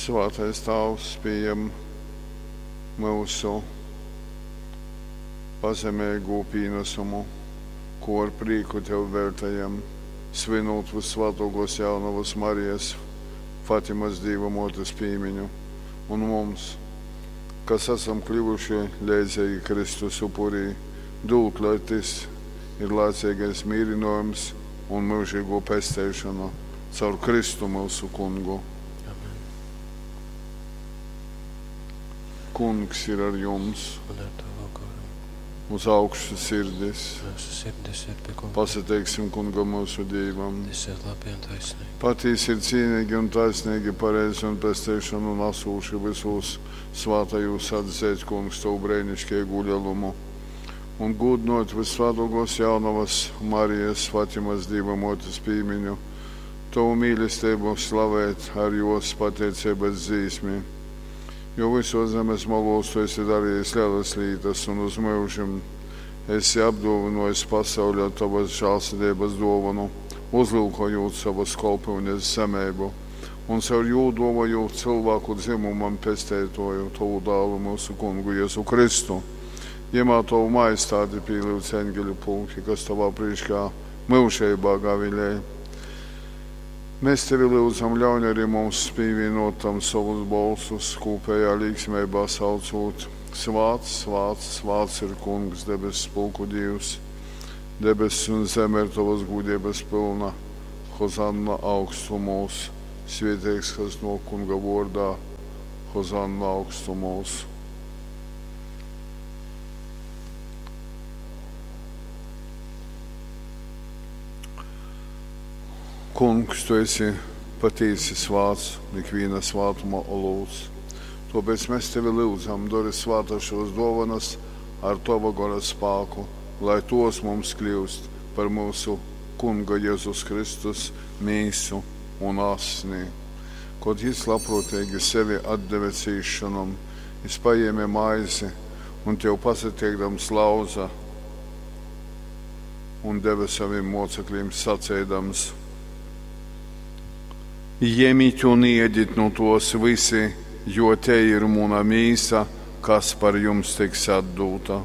Svātais Tāvs, pījem myusu pazemeigū pīnasumu, kū ar prīku Tev veļtejam, svinūt Vyssvātōkōs Jaunovas Marijas Fatimas Dīva Mōtes pīmiņu, un mums, kas asam kļuvuši leidzeigi Kristus upurī, dūd, lai tys ir laiceigais mīrynōjums un myužeigō pesteišona caur Kristu myusu Kungu. Amen. Kungs ir ar jums. Un ar tavu goru. Uz augšu sirdis. Mūsu sirdis ir pie Kunga. Pasateiksim Kungam myusu Dīvam. Tas ir labi un taisnīgi. Patīsi ir cīnīgi un taisnīgi, pareizi un pestīšanu nesūši visos svātajūs atzīt, Kungs, tavu brēnišķīgu lielumu. Un gūdinot Vysvātōkōs Jaunavas Marijas Fatimas Dīva Mōtes pīmiņu, tavu mīlestību slavēt ar jos pateiceibas dzīsmi. Jo visos zemes malos tu esi darījis lielas lietas un uz mūžim esi apdāvinājis pasauli ar tavas žēlsirdības dāvanu, uzlūkojot savas kalpūnes zemību un caur jū dāvājot cilvēku dzimumam pestētoju, tavu dēlu mūsu kungu Jēzu Kristu. Jemā tavu majestāti pīlyudz eņģeļu pulki, kas tavā priekšā myužībā gavilēja. Mēs tevi lūdzam, ļauj arī mums pievienot tam savus balsus, kopējā līgsmībā saucot: Svāts, svāts, svāts ir Kungs, debesu pulku Dievs. Debesis un zeme ir tavas gudrības pilna. Hozanna augstumos, svētīgs, kas no Kunga vārdā. Hozanna augstumos. Kungs, tu esi patīsi svāts, ikviena svātuma olūts. Tāpēc mēs tevi lūdzam, dari svātas šos dāvanas ar tava gara spēku, lai tos mums kļūst par mūsu Kunga Jēzus Kristus mīsu un asni. Kad jis labprātīgi sevi atdeva cīšanam, jis paņēma maizi un tev pasateikdams lauza un deva saviem mocekļiem sacīdams: Ņemiet un ēdiet no tos visi, jo te ir mana mīsa, kas par jums tiks atdota.